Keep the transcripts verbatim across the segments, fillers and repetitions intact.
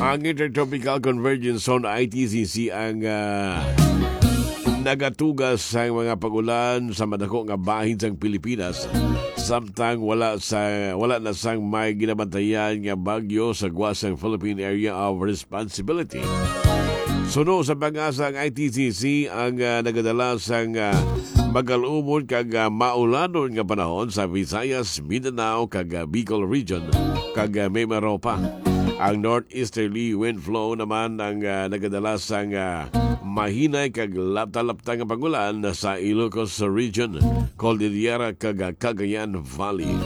Ang Intertropical Convergence Zone, I T C Z, ang, ah, nagatuga sa mga pag-ulan sa madako nga bahin sang Pilipinas, samtang wala sa, wala na sang may ginabantayan nga bagyo sa gwa sang Philippine Area of Responsibility. Suno sa PAGASA, ang I T C Z ang, ah, nagadala sang, ah, magal-umon kag, ah, maulanon nga panahon sa Visayas, Mindanao, kag, ah, Bicol Region, kag, ah, Mimaropa. Ang northeasterly wind flow naman ang, ah, nagadala sang, ah, mahinay kag lapta-lapta nga pag-ulan sa Ilocos Region, Cordillera, kag, ah, Cagayan Valley.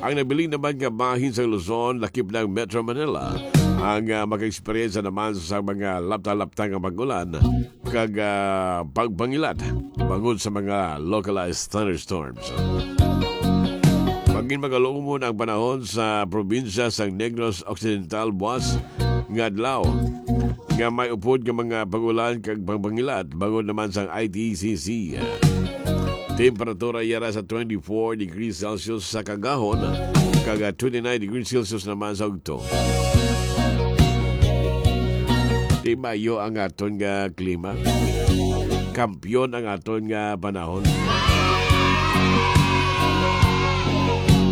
Ang nabilin naman nga bahin sa Luzon, lakip ng Metro Manila, ang, ah, maka-eksperyensya naman sa mga lapta-lapta nga pag-ulan kag, ah, pagbangilat bangod sa mga localized thunderstorms. Magin magaluumon ang panahon sa probinsya sang Negros Occidental buwas nga adlaw, nga may upod nga mga pag-ulan kag pagbangilat bangod naman sang I T C Z. Temperatura yara sa twenty-four degrees Celsius sa kagahon, kag twenty-nine degrees Celsius naman sa ugto. Di maayo ang aton nga klima. Kampiyon ang aton nga panahon.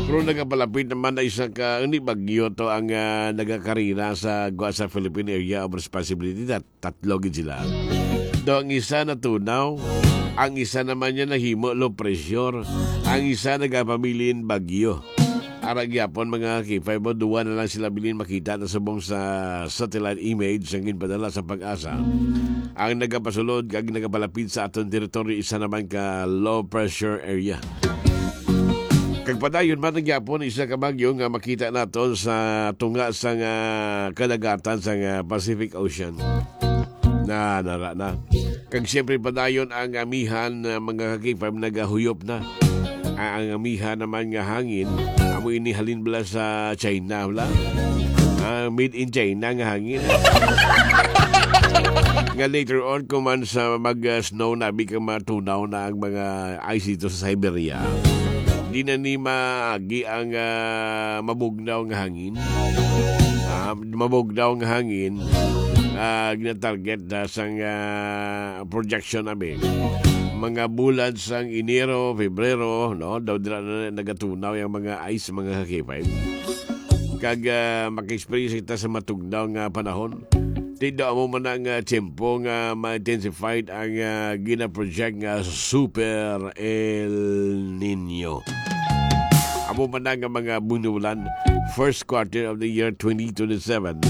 Pero nagapalapit naman na isa ka, ni bagyo to ang, ah, nagakarira sa gwa sa Philippine Area of Responsibility. Tat-, tatlo gid sila. Do ang isa natunaw, ang isa naman niya nahimo low pressure, ang isa nagapabilin bagyo. Ara gyapon, mga K five, duwa na lang sila bilin makita na subong sa satellite image ang ginpadala sa PAGASA. Ang nagapasulod kag nagapalapit sa aton teritoryo, isa naman ka low pressure area. Kag padayon man gyapon, isa ka bagyo nga makita naton sa tunga sang, ah, kadagatan sang, ah, Pacific Ocean. Na, nara na. Kag siyempre, padayon ang amihan, ah, mga ka-K five, nagahuyop na. Ah, ang amihan naman nga hangin, amo ini halin bala sa China, bala. Ah, made in China nga hangin. Nga later on, kung man sa mag, ah, snow na, biglang matunaw na ang mga ice dito sa Siberia. Di na ni maagi ang, ah, mabugnaw nga hangin. Ah, mabugnaw nga hangin, ah, ginatarget na sang, ah, projection namin. Mga bulan sang Enero, Febrero, no? Daw dira na nagatunaw yung mga ice, mga ka-K five. Kag, ah, maka-experience kita sa matugnaw nga panahon. Ti daw amo man ang, ah, tiyempo nga ma-intensified ang, ah, gina-project nga Super El Niño. Amo man na nga mga bunulan, first quarter of the year twenty twenty-seven.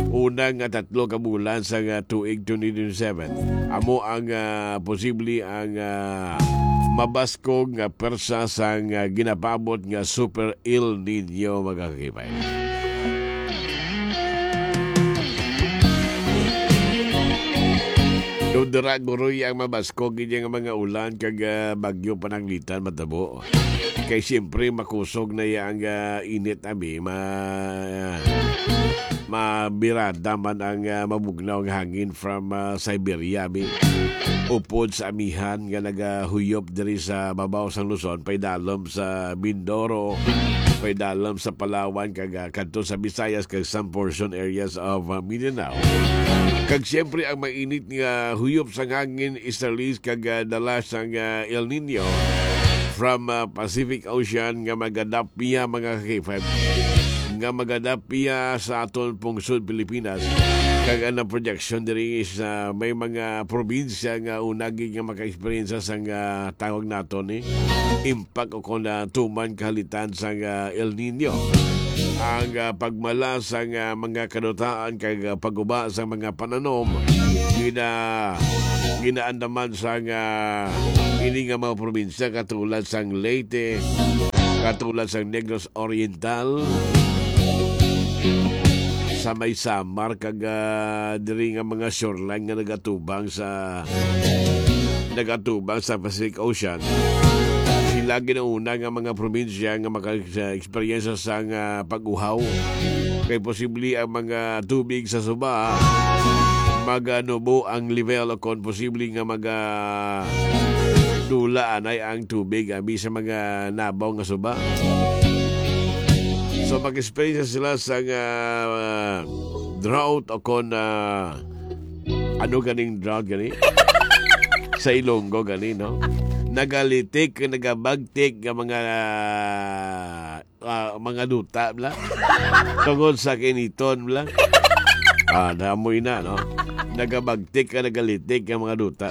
Una nga tatlo ka bulan sa nga tuig twenty twenty-seven. Amo ang, ah, posible ang, ah, mabaskog nga persa sang, ah, ginapaabot nga Super El Niño, mga ka-K five. Daw dira guroy ang mabaskog ini nga mga ulan kag, ah, bagyo pananglitan matabo. Kay siyempre makusog na ya ang, ah, init, abi, ma-, mabirada man ang, ah, mabugnaw nga hangin from, ah, Siberia, abi. Upod sa amihan nga nagahuyop diri sa babaw sang Luzon, paidalom sa Mindoro, paidalom sa Palawan, kag, ah, kadto sa Visayas, kag some portion areas of, ah, Mindanao. Kag siyempre, ang mainit nga huyop sang hangin, easterlies, kag, ah, dala sang, ah, El Niño from, ah, Pacific Ocean nga magadapia, mga ka-K five, nga magadapia sa aton pungsod Pilipinas. Kag ang projection diri is, ah, may mga probinsya nga unagi nga maka-experience sang, ah, tawag naton, eh, impact o kung, ah, tuman kahalitan sang, ah, El Niño. Ang, ah, pagmala sang, ah, mga kadutaan kag, ah, pag-uba sa mga pananom, gina-, ginaandaman sang, ah, ini nga mga probinsya katulad sang Leyte, katulad sang Negros Oriental, sa may Samar, kag, ah, diri nga mga shoreline nga nagatubang sa, nagatubang sa Pacific Ocean. Sila ginauna nga mga probinsya nga maka-, sa eksperyensya sa nga pag-uhaw. Kay posible ang mga tubig sa suba maganubo ang level o kon posible nga maga-, dula anay ang tubig abi sa mga nabaw nga suba. So, mag-experience sila sa, ah, drought o kon, ah, ano ganing drought gani? Sa Ilonggo gani, no? Nagalitik, nagabagtik nga mga, ah, mga duta, bla? Tungod sa kiniton, bla? Ah, namoy na, no? Nagabagtik ka, nagalitik ka, mga duta.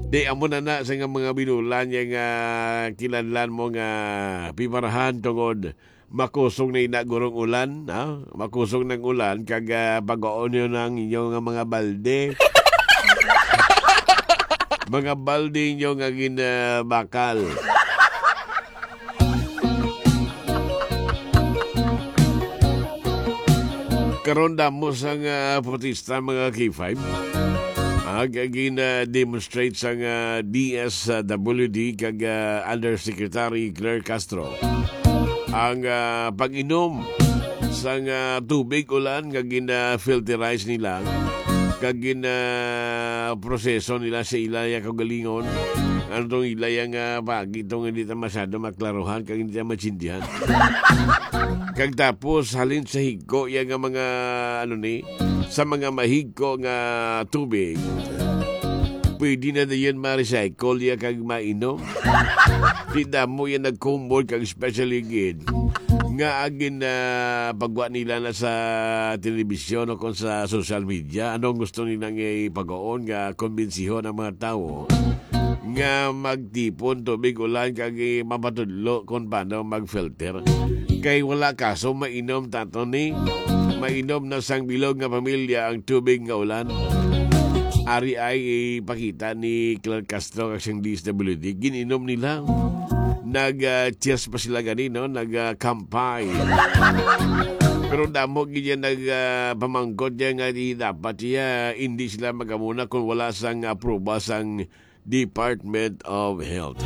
Di, amo na na sa nga mga binulan, yung, ah, kinahanglan mo nga piparahan tungod makusog na ina gurong ulan, ha? Makusog ng ulan, kag, ah, pagaon nyo ng inyo nga mga balde. Mga balde nyo nga ginabakal. Karon damo sang, ah, protesta, mga K five. Ag gina-demonstrate sang, ah, D S W D kag, ah, Undersecretary Claire Castro ang, ah, pag-inom sang, ah, tubig ulan nga gina-filterize nila kag gina-proseso nila sa ila ya kaugalingon. Ano tong ila ya nga pagi tong hindi ta masyado maklaruhan kag hindi ta maintindihan. Kag tapos, halin sa higko ya nga mga, ano ni, sa mga mahigko nga tubig, pwede na dayon ma-recycle ya kag mainom. Di damo ya nagkumbol kag especially gid nga agin na pagwa nila na sa telebisyon o kon sa social media. Anong gusto nila nga ipagaon nga kumbensihon ang mga tawo nga magtipon tubig ulan kag, eh, mapatudlo kung paano mag-filter. Kay wala kaso mainom tato ni, mainom na sang bilog nga pamilya ang tubig nga ulan. Ari ay ipakita ni Claire Castro kag siyang D S W D. Gin-inom nila. Nag, ah, cheers pa sila gani, no? Nag, ah, kampay. Pero damo gid yan nag, ah, pamangkot yan nga di dapat siya, hindi sila magamuna kung wala sang apruba sang Department of Health.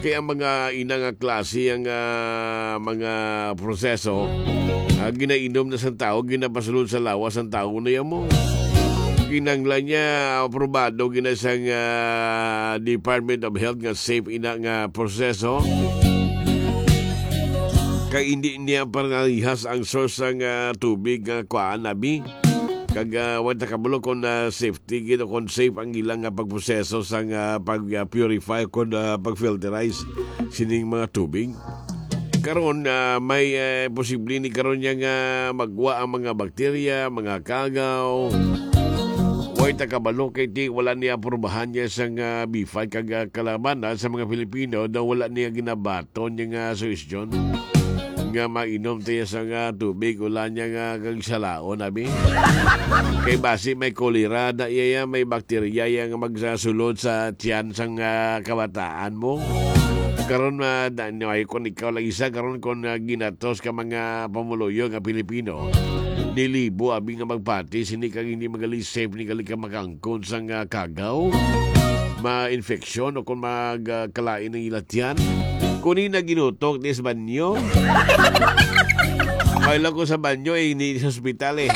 Kaya ang mga ina nga klase ang, ah, mga proseso, ah, ginainom na sang tao, ginapasulod sa lawas ang tao na yamo. Kinanglan niya, aprobado gina sang, ah, Department of Health nga safe ina nga proseso. Kay hindi niya parehas ang source sang, ah, tubig nga kuhaan, abi. Kag, ah, wa ta kabalo kung, ah, safety gid o kung safe ang ilang, ah, pagproseso sang, ah, pag, ah, purify o kung, ah, pag-filterize sining mga tubig. Karon, ah, may, eh, posible ni karon niya nga magwa ang mga bakterya, mga kagaw. Wa ta kabalo kay ti wala niya aprubahan niya sang, ah, B five kag, ah, kalabanan sa mga Pilipino daw wala niya ginabaton niya nga suhestyon nga mainom tayo sa nga tubig, wala niya nga kag salaon, abi. Kay basi may kolera na iya, ya, may bakterya ya nga magsasulod sa tiyan sang, ah, kabataan mo. Karon, ah, da-, ay, kung ikaw lang isa, karon kung, ah, ginatos ka mga pamuluyo nga Pilipino, nilibo, abi nga magpati, sini kag hindi magali safe, ni gali ka makangkon sang, ah, kagaw, ma-infection, o kung mag, ah, kalain ang ilatyan. Kunin na ginutok ni sa banyo. Kailan ko sa banyo, eh, hindi sa ospital, eh.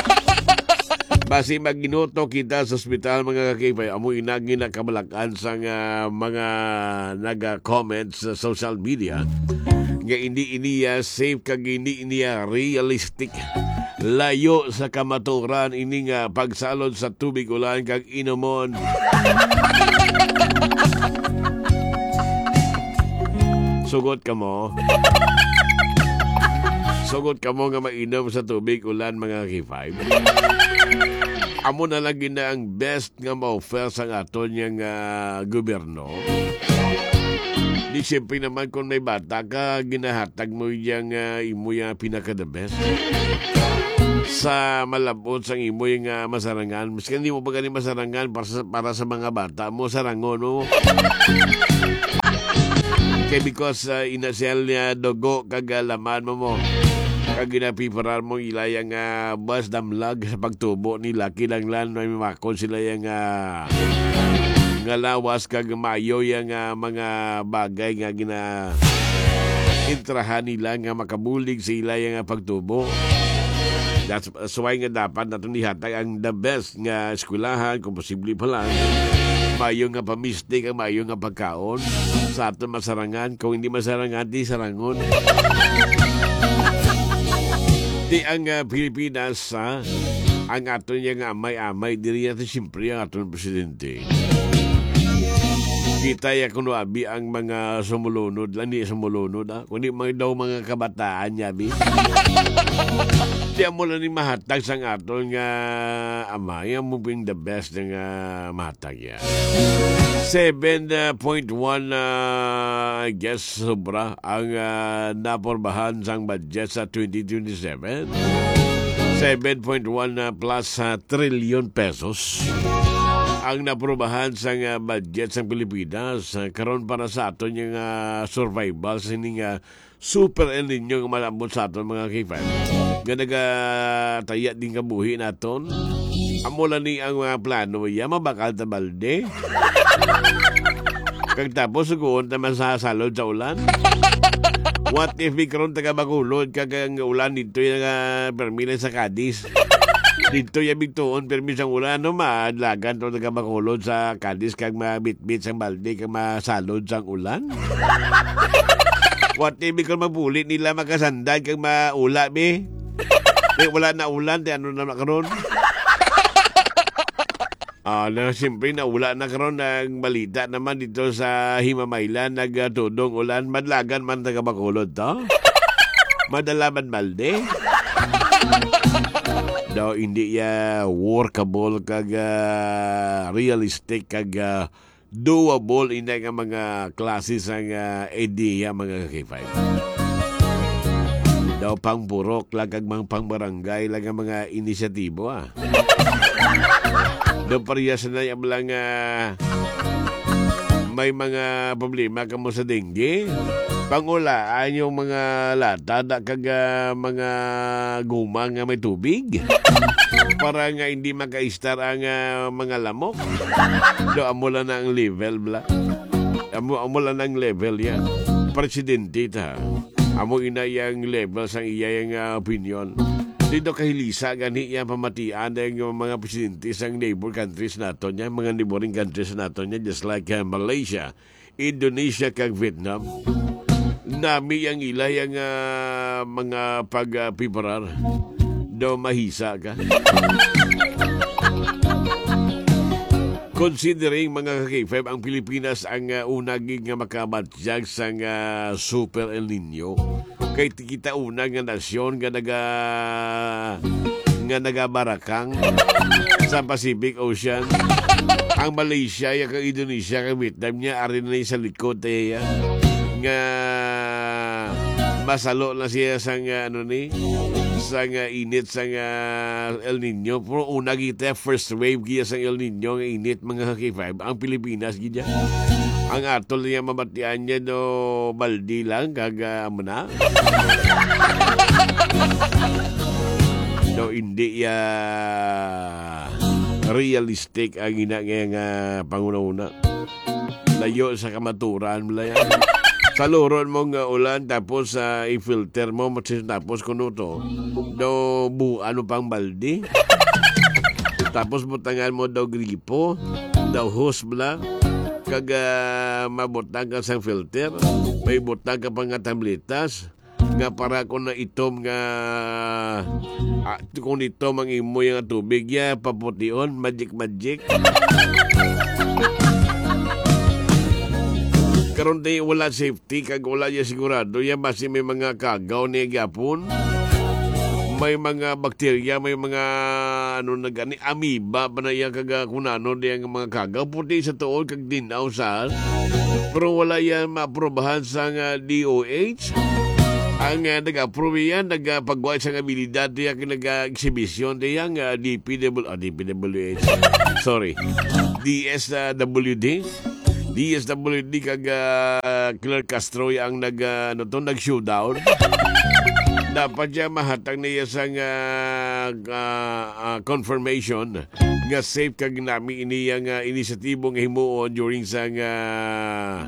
Basi maginutok kita sa ospital, mga kakipay. Amo ina ginakabalakan sa nga mga naga-comment sa social media nga hindi iniya safe kag hindi iniya realistic. Layo sa kamaturan ini nga pagsalod sa tubig ulan kag inumon. Sugot ka mo. Sugot ka mo nga mainom sa tubig ulan, mga K five. Amo na lagi na ang best nga ma-offer sang aton yang, ah, gobyerno. Di siyempre naman kung may bata ka, ginahatag mo yang, ah, imo yang pinaka the best. Sa malabot sang imo yang, ah, masarangan, miskan di mo pa gani masarangan para sa, para sa mga bata mo, sarangon mo. Kay because, ah, ina siya niya dugo kag, ah, laman mo mo. Kag ginapiparar mo ila yang, ah, bas damlag sa pagtubo nila, kinahanglan may makon sila yang, ah, nga lawas kag maayo yang, ah, mga bagay nga gina intrahan nila nga makabulig sa ila yang, ah, pagtubo. That's, that's why nga dapat naton ihatag ang the best nga eskwelahan, kung posible pa lang. Maayo nga pamisti kag maayo nga pagkaon sa aton masarangan. Kung hindi masarangan, di sarangon. Di ang, ah, Pilipinas, ah, ang aton niya nga amay-amay, diri natin siyempre ang aton presidente. Kita ya kuno abi ang mga sumulunod, lani sumulunod, ah. Kundi mga daw mga kabataan niya, bi. Di amo lang ni mahatag sang aton nga amay, amo ping the best nga mahatag ya. Seven point one, ah, I guess, sobra ang, ah, naporbahan sang budget sa twenty twenty-seven. Seven point one, ah, plus, ah, trilyon pesos ang naprobahan sang, ah, budget sang Pilipinas, ah, karon para sa aton nga, ah, survival sa sining, ah, Super El Nino nga malambot sa aton mga K five. Nga nagataya din kabuhi naton. Amo lang ni ang mga plano ya, mabakal ta balde. Kag tapos, sugoon ta man sa salod sa ulan. What if mi karon taga Bacolod, kag ang ulan dito yung, ah, permi lang sa Cadiz? Dito yung bigtuon, permi sang ulan, no? Madlagan to taga Bacolod sa Cadiz, kag mabitbit sang balde, kag masalod sang ulan? What if mi karon magpuli nila makasandag kag maula, be? Di, wala na ulan, di ano na karon? Ah, na, siyempre, naula na karon ang balita naman dito sa Himamaylan, nagtudong ulan, madlagan man taga Bacolod to. Madala man balde. Daw hindi ya workable kag, ah, realistic kag, ah, doable ina nga mga klase sang, ah, idea, mga K five. Daw pang purok lang kag mga pang barangay lang ang mga inisyatibo, ah. Daw parehas na yung lang, ah, may mga problema kamo sa dengue. Pangulaan yung mga lata da kag, ah, mga guma nga may tubig para nga hindi makaistar ang, ah, mga lamok. Do amo lang na ang level, bla. Amo, amo lang ang level ya. Presidente ta. Amo ina yang level sang iya yang, ah, opinion. Dito kahilisa gani iya pamatian ang mga presidente sang neighbor countries naton, ya, mga neighboring countries naton, ya, just like, ah, Malaysia, Indonesia, kag Vietnam. Nami ang ila yang, ah, mga pagpiparar. Do mahisa ka. Considering, mga ka-K five, ang Pilipinas ang, ah, una gid nga makabatyag sang, ah, Super El Nino. Kay ti-, kita una nga nasyon nga naga-, nga nagabarakang sa Pacific Ocean. Ang Malaysia, ya, kag Indonesia, kag Vietnam niya, ari na ni sa likod, eh, ya. Nga masalo na siya sang, ah, ano ni, sang, ah, init sang, ah, El Nino. Pero una kita, first wave giya sang El Nino nga init, mga ka-K five, ang Pilipinas gid ya. Ang atol niya mabatian niya, no, baldi lang, kag, ah, amo na. No, hindi ya realistic ang ina nga, nga panguna-una. Layo sa kamaturan, bala yan. Saluron mo nga ulan, tapos, ah, i-filter mo, tapos kuno to, daw buan mo pang baldi. Tapos butangan mo daw gripo, daw hose, bala. Kag, ah, mabutang ka sang filter, may butang ka pa nga tabletas, nga para kung naitom nga, ah, kung itom ang imo nga tubig, ya, papution, magic, magic. Karon, di, wala safety, kag wala ya sigurado, ya, basi may mga kagaw ni gyapon. May mga bakterya, may mga, ano na gani, amoeba pa na iya, kag, ah, kung ano, di ang mga kagaw, puti sa tuod, kag dinaw sa, pero wala yan maaprobahan sa nga D O H. Ang, ah, nag-approve yan, nagpagwa sa abilidad diya, nag-exhibition diya, nga D P W, ah, D P W H. Sorry. D S W D. D S W D kag, ah, Claire Castro ang nag, ah, ano to, nag-showdown. Dapat siya mahatag na iya sang, ah, ah, ah, confirmation nga safe kag nami ini yang, ah, inisyatibo nga himuon during sang, ah,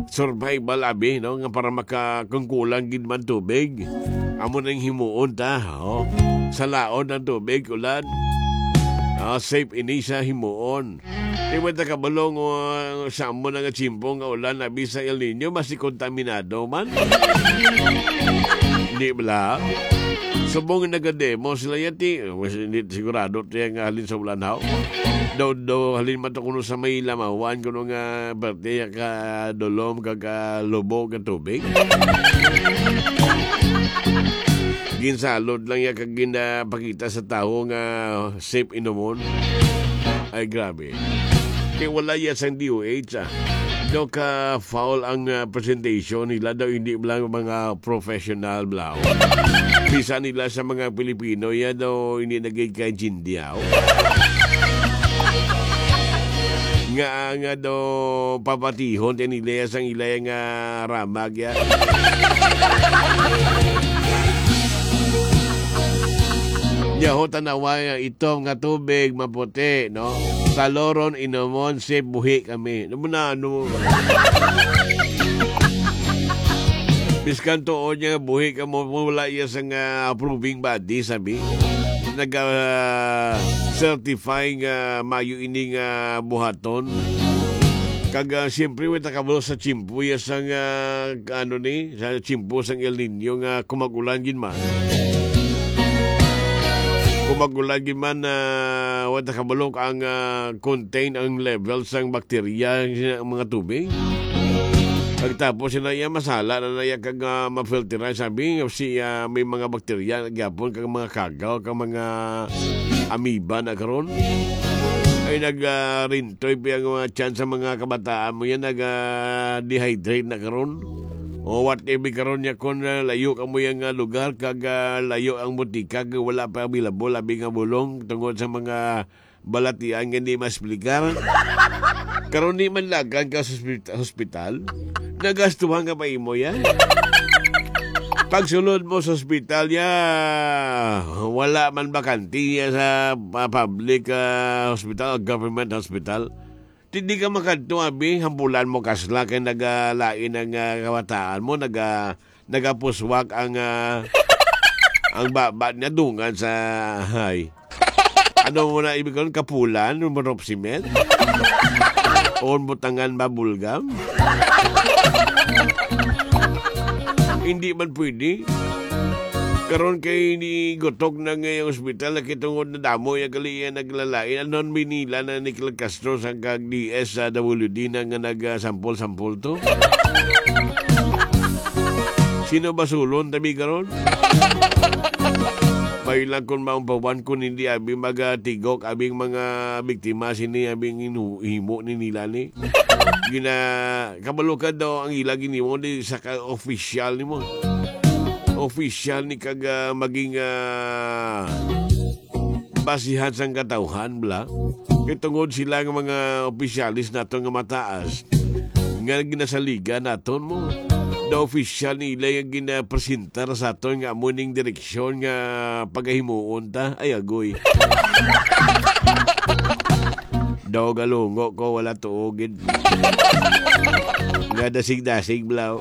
survival, abi, no, nga para maka-, kung kulang gid man tubig, amo nang himuon ta, oh. Salaon ang tubig, ulan. Ah, safe ini sa himuon. Di mo ta kabalo nga sa amo na nga tiyempo nga ulan, abi sa El Niño, mas kontaminado man. Di bala? Subong nagademo sila yati. Mas hindi sigurado tiya nga halin sa ulan, haw. Daw, daw, halin man to kuno sa may lamawan, kuno nga parte ya ka dulom, ka, ka lubo, ka tubig. Ginsalod lang ya kag ginapakita sa tawo nga safe inumon. Ay, grabe. Kay wala ya sang D O H, ah. Daw ka foul ang, ah, presentation nila, daw hindi lang mga professional, bla. Bisan nila sa mga Pilipino, ya daw hindi nagay kaintindihan. Nga, nga daw papatihon, tinilaya sang ilaya nga ramag, ya. Nya ho, tanawa nga itom nga tubig, maputi, no? Saloron, inumon, safe, buhi kami. Ano mo na, ano mo? Biskan tuod niya, buhi ka mo, wala iya sa nga approving body, sabi. Nag, ah, certify nga mayo ini nga buhaton. Kag, ah, siyempre, wala ta kabalo sa tiyempo, ya sang, ah, ano ni, sa tiyempo sang El Niño nga kumag-ulan gid man. Kumag-ulan gid man, ah, wala ta kabalo ang, ah, contain ang level sang bakterya sa mga tubig. Pagtapos sila iya masala na naya kag, ah, mafilteran, sabi, si, ah, may mga bakterya gyapon kag mga kagaw kag mga amoeba na karon. Ay nag, ah, rintoy pa ang mga tiyan sa mga kabataan mo yan, nag, ah, dehydrate na karon. O whatever karon niya, kung, ah, layo ka mo yang, ah, lugar kag, ah, layo ang butika kag wala pa available abi nga bulong tungod sa mga balatian nga di maespligar. Karon di man lagan ka sa ospit-, hospital, nagastuhan ka pa imo yan. Pagsulod mo sa ospital ya, wala man bakante ya sa pa-, public, ah, hospital o government hospital. Di, di ka makadto, abi, hambulan mo kasla kay nagalain ang, ah, kabataan mo, naga-, nagapuswak ang, ah, ang baba niya dungan sa, hay. Ano mo na ibig karon, kapulan, mo rope cement? O butangan ba bulgam? Hindi man pwede. Karon kay ni gutok na nga yung ospital, nakitungod na damo yung kaliya naglalain. Ano ang binila na ni Clark Castro sa kag D S W D na nga nagasampol-sampol to? Sino ba sulon tabi karon? May lang kung maumpawan kung hindi abi magatigok abing mga biktima sini abing inu-, himo ni nila ni. Gina-, kabalo ka daw ang ila ginimo di sa ka-, official nimo. Official ni kag, ah, maging, ah, basihan sang katawhan, bla. Kay tungod sila nga mga opisyalis nato nga mataas, nga ginasaligan naton mo. The official nila nga ginapresentar sa aton nga amo ning direksyon nga pagahimuon ta. Ay, agoy. Daw galungo ko, wala tuo gid. Nga dasig-dasig, blaw.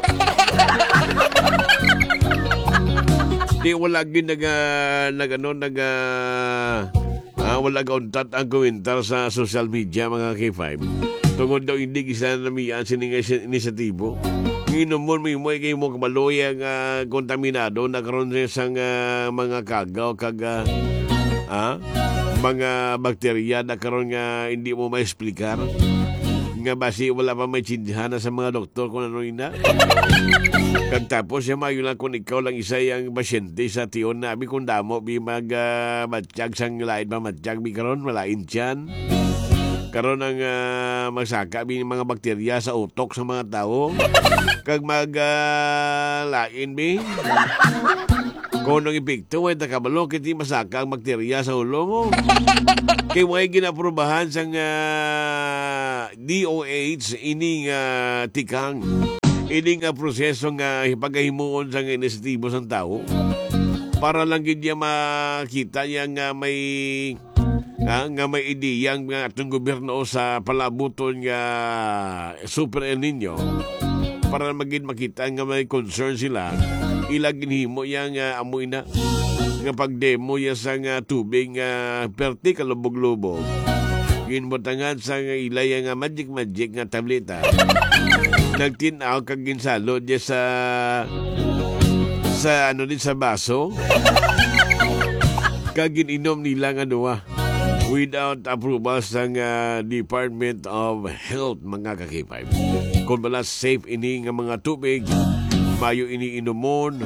Di, wala gid naga-, nag-, ano, naga-, ah, wala gauntat ang komentar sa social media, mga K five. Tungod daw hindi gisa namian sini nga isi-, inisyatibo. Nginomon mo imo kay mo kabaloy nga kontaminado na karon sa isang, ah, mga kagaw kag, ah, ah, mga bakterya na karon nga hindi mo maesplikar. Nga basi wala pa may tsindihan na sa mga doktor kung ano ina. Kag tapos siya, maayo lang kung ikaw lang isa ang pasyente sa tion na abi kung damo bi mag, ah, matyag sang lain pa matyag bi karon, malain tiyan. Karon ang, ah, magsaka bi mga bakterya sa utok sa mga tawo. Kag mag, ah, lain bi. Kung anong epekto, way ta kabalo, kiti masaka ang bakterya sa ulo mo. Kay way ginaprobahan sang, ah, D O H ini nga tikang. Ini nga proseso nga pagahimuon sang inisyatibo sang tawo. Para lang gid niya makita niya nga may, ah, nga may ideya ang atong gobyerno sa palabuton nga Super El Niño. Para magin makita nga may concern sila, ila ginhimo niya nga amo ina. nga pagdemo ya sa nga tubig nga perti kalubog-lubog. Ginbutangan sa nga ilay nga magic-magic nga tableta. Nagtin-aw kag ginsalod ya sa, sa ano din, sa baso. Kag gin-inom nila nga duha without approval sang, ah, Department of Health, mga ka-K five. Kung wala safe ini nga mga tubig, mayo ini inumon,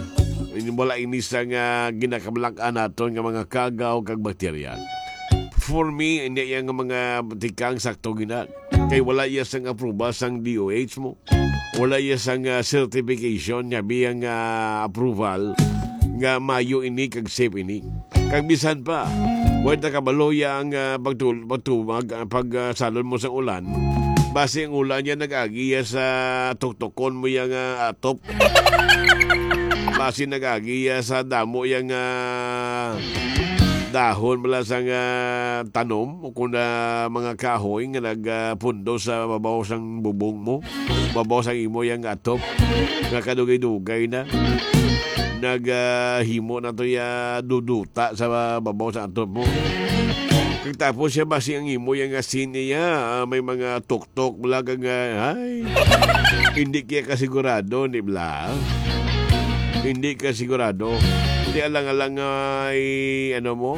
wala ini sa nga ginakabalakan naton nga mga kagaw kag bakterya. For me, ini iya nga mga tikang sakto gina. Kay wala iya sang approval sang D O H mo. Wala iya sang, ah, certification nga biyang, ah, approval nga mayo ini kag safe ini. Kag bisan pa, wala ta kabalo iya ang, ah, pagtul-, pagtumag, ah, pag, ah, salon mo sa ulan. Basi ang ulan niya nag-agi iya sa tuktukon mo iya nga atop. Basi nag-agi iya sa damo iya nga dahon bala sang, ah, tanom o kung, ah, mga kahoy nga nag, ah, pundo sa babaw sang bubong mo, babaw sang imo iya nga atop, nga kadugay-dugay na. Nag, ah, himo na to iya duduta sa babaw sa atop mo. Kag tapos siya, basi ang imo iya nga sin iya, ah, may mga tuktok, bala kag, ah, ay, hindi kaya kasigurado, di bala? Hindi kasigurado. Di alang-alang nga i-, ano mo,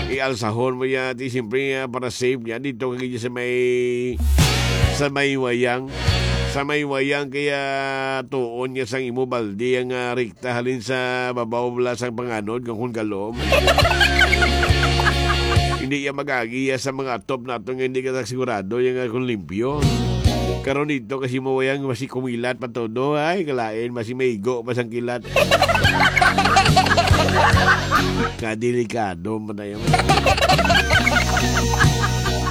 ialsahon mo ya, di siyempre, ah, para safe niya. Dito kay sa may, sa may wayang. Sa may wayang, kaya tuon niya sang imo baldi ang, ah, rikta halin sa babaw bala sang panganod, nga kung kalom. Hindi iya mag-agi iya sa mga atop nato nga hindi ka sigurado iya nga kung limpyo. Karon dito kasi mo wayang masi kumilat pa todo. Ay, kalain, masi maigo pa sang kilat. Kadelikado man na yun.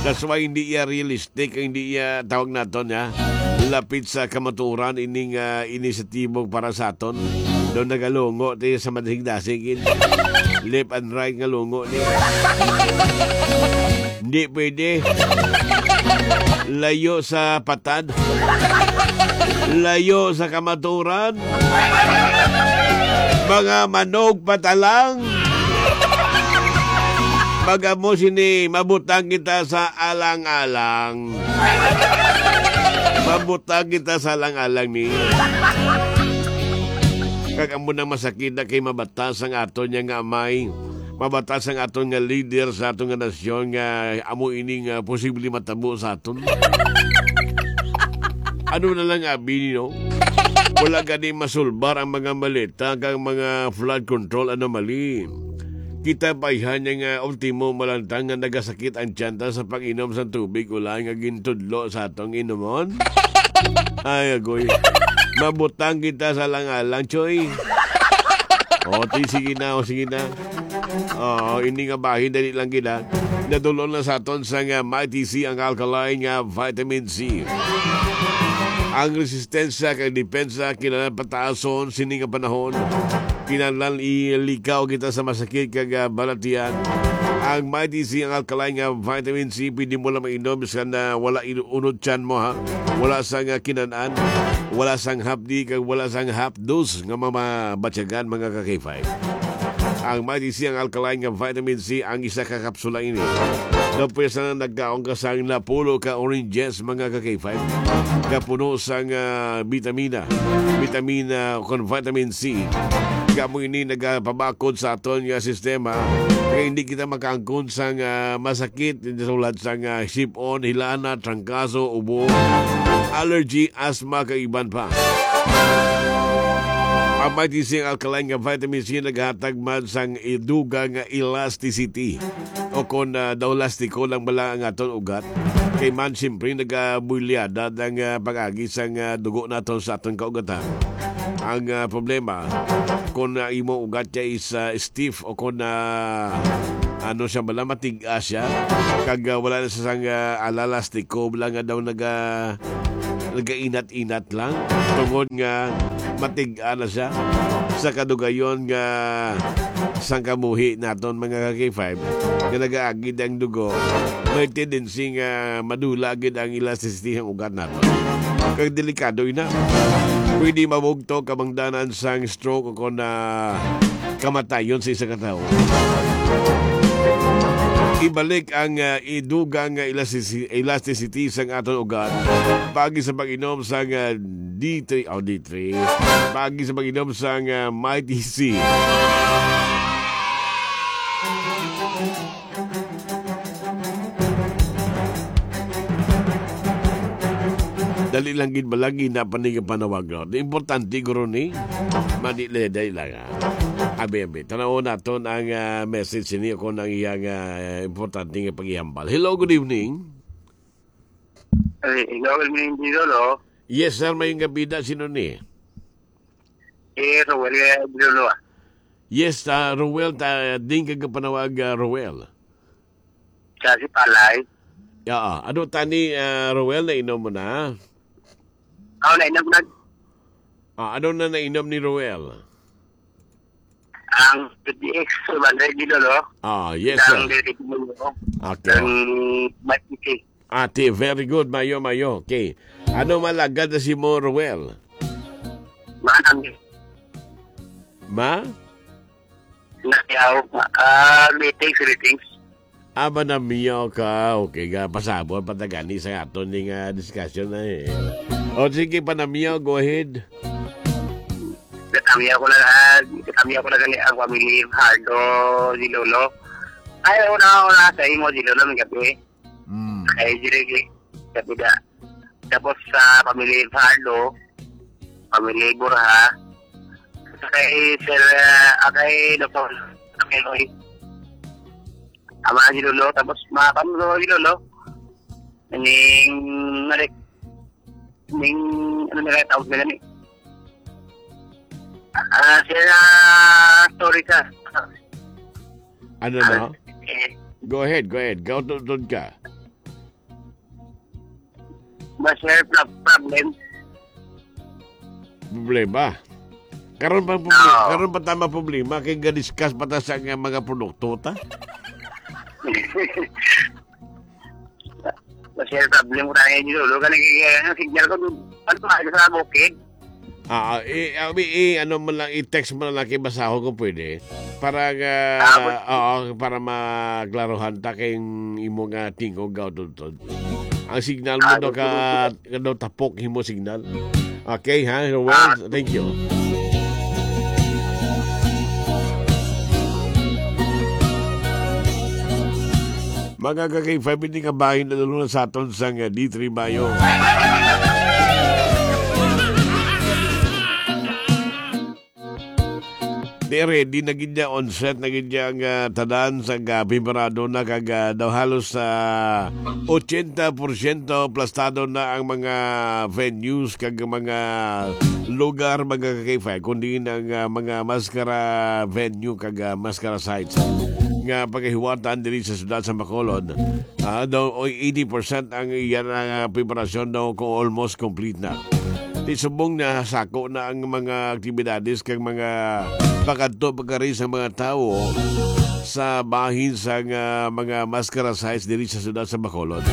That's why hindi iya realistic, hindi iya tawag naton, ha? Lapit sa kamaturan ining, ah, inisyatibo para sa aton. Daw nagalungo tayo sa madasig-dasig, gid. Left and right nga lungo ni. Hindi pwede. Layo sa patad. Layo sa kamaturan. Mga manog patalang. Pag amo sini, mabutang kita sa alang-alang. Mabutang kita sa alang-alang ni. Kag amo nang masakit na kay mabatas ang aton niya nga amay. Mabatas ang aton nga leader sa aton nga nasyon nga amo ini nga posible matabo sa aton. Ano na lang abi, no? Wala gani masulbar ang mga maleta kag mga flood control anomaly. Kita pa ihan niya nga ultimo malantang nga nagasakit ang tiyanta sa pag-inom sa tubig ulan nga gintudlo sa atong inumon. Ay, agoy. Mabutang kita sa alang-alang, choy. O, ti, sige na, o, sige na. Oo, ini nga bahin, dali lang gid, ha. Nadulon na sa aton sa nga Mighty C ang alkaline nga vitamin C. Ang resistensya kag depensa kinahanglan pataason sini nga panahon. Kinahanglan ilikaw kita sa masakit kag, ah, balatian. Ang Mighty C ang alkaline nga vitamin C, pwede mo lang mainom bisan na wala in-, unod tiyan mo, ha. Wala sang, ah, kinan-an, wala sang hapdi, kag wala sang hapdos nga mamabatyagan, mga ka-K five. Ang Mighty C ang alkaline nga vitamin C, ang isa ka kapsula ini. Daw pwes na nagkaon ka sang napulo ka oranges, mga ka-K five, nga puno sang, ah, bitamina, bitamina kon vitamin C. Kamo ini nagapabakod sa aton nga sistema, kay hindi kita makaangkon sang, ah, masakit, sulad sang, ah, sip-on, hilana, trangkaso, ubo, allergy, asthma, kag iban pa. Ang Mighty C ang alkaline nga vitamin C naghatag man sang iduga nga elasticity o kon, ah, daw lastiko lang bala ang aton ugat. Kay man, siyempre, nagabulyada ang, ah, pag-agi sang, ah, dugo naton sa aton kaugatan. Ang, ah, problema, kung, ah, imo ugat kay is, ah, stiff o kung, ah, ano siya bala, matig-a siya, kag, ah, wala na sa sang, ah, ala lastiko, bala nga daw naga-, nagainat-inat lang, tungod nga matig-a na siya sa kadugayon nga sang kabuhi naton, mga ka-K five, nga nagaagid ang dugo, may tendency nga madula gid ang elasticity sang ugat naton. Kag delikado ina. Pwede mabugto kabangdanan sang stroke o kon, ah, kamatayon sa isa ka tawo. Ibalik ang, ah, idugang nga elasticity, elasticity sang aton ugat paagi sa pag-inom sang, ah, D three, oh, D three. Paagi sa pag-inom sang, ah, Mighty C. Dali lang gid, malagi na pa ni panawag, no? Di importante, guro, ni. Madali, dali lang, ah. Abi, abi. Tanaw naton ang, ah, message sini kung ang iyang, ah, importante nga paghambal. Hello, good evening. Ay, hello, good evening, Dilo, no? Yes, sir. May nga bida. Sino ni? Eh, Roel, eh, Dilo, no? Yes, ah, Roel. Ta, din ka kapanawag, ah, Roel. Sa si Palay. Ya, ah. Ano tani, ah, Roel, nainom mo na? Oh, nainom na. Ah, ano na nainom ni Roel? Ang P D X one hundred, Dilo, no? Ah, yes, sir. Ang Dilo, no? Okay. Ang Matiti. Ate, very good. Mayo, mayo. Okay. Ano malagad na si mo, Roel? Manang. Ma? Nakiyaw. Ah, meetings, meetings. Ah, manamiyaw ka. Okay, ga, pasabot, patagani sa aton ning, ah, discussion na eh. O, sige, panamiyaw, go ahead. Katamiyaw ko na, ah, katamiyaw ko na gani ang family Hardo, si Lolo. Ay, una, una sa imo, si Lolo, may gabi. Mm. Ay, dili, dili. Sabi na. Tapos sa family Hardo, family Borja, sa kay Sir, ah, kay Doktor Meloy. Ama ni Lolo, tapos mga pamlo ni Lolo. Ning, nalik, ning, ano nila tawag nila ni? Ah, sila, story sa, Ano na? Ah, eh. Go ahead, go ahead. Gautod ka. Mas may prob-, problem. Problema? Karon pa ang problema, Oo. Karon pa tama problema kay ga-discuss pa ta sa nga mga produkto ta. Mas may problem ko tayo dito. Lo, kanang, eh, ang signal ko, ano pa, sa bukid? Ah, ah, i-, ah, i-, i-, ano mo lang, i-text mo lang kay basahon ko pwede. Para nga, Ah, pwede. Oo, para maklaruhan ta kay imo nga tingog, Gautod. Ang signal mo Ah, daw ka, sige. Nga daw tapok himo signal. Okay, ha, Roel? Ah. Thank you. Mga ka-K five, hindi ka bahin na lalo na sa aton sa nga D three Bayo. Di ready na gid niya, on set na gid niya ang, ah, tanan sa, ah, preparado na kag, ah, daw halos, ah, ochenta porsyento plastado na ang mga venues kag mga lugar, mga ka-K five, kundi ang, ah, mga maskara venue kag, ah, maskara sites nga pagahiwatan diri sa siyudad sa Bacolod. Ah, daw, o eighty percent ang iyan ang, ah, preparasyon daw ko almost complete na. Di subong na sako na ang mga aktibidades kag mga pakadto pagkari sa mga tawo sa bahin sa nga mga maskara sites diri sa siyudad sa Bacolod.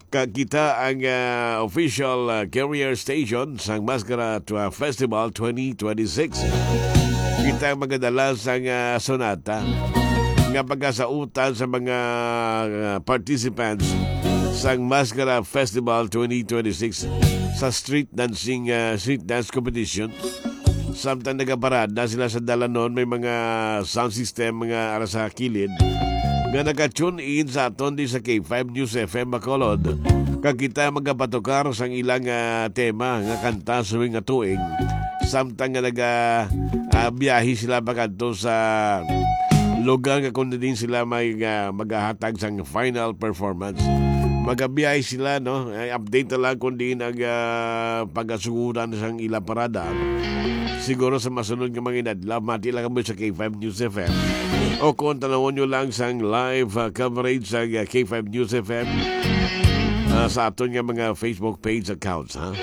Kag kita ang, ah, official, ah, carrier station sang Maskara Twa-, Festival twenty twenty-six. Kita ang magadala sang, ah, sonata nga pagkasautan sa mga, ah, participants sang Maskara Festival twenty twenty-six sa street dancing, ah, street dance competition. Samtang nagaparada sila sa dalanon, may mga sound system nga ara sa kilid nga naka-tune in sa aton di sa K five News F M Bacolod. Kag kita magapatukar sang ilang, ah, tema nga kanta suwing nga tuig. Samtang nga naga, ah, biyahe sila pakadto sa lugar nga kundi din sila may, ah, magahatag sang final performance. Magabiyahe sila, no? Ay, update na lang kung diin ang, ah, pagasuguran sang ila parada. Siguro sa masunod nga mga inadlaw, mati lang kamo sa K five News F M. O kung tanawon nyo lang sang live, ah, coverage sa, ah, K five News F M, ah, sa aton nga mga Facebook page accounts, ha?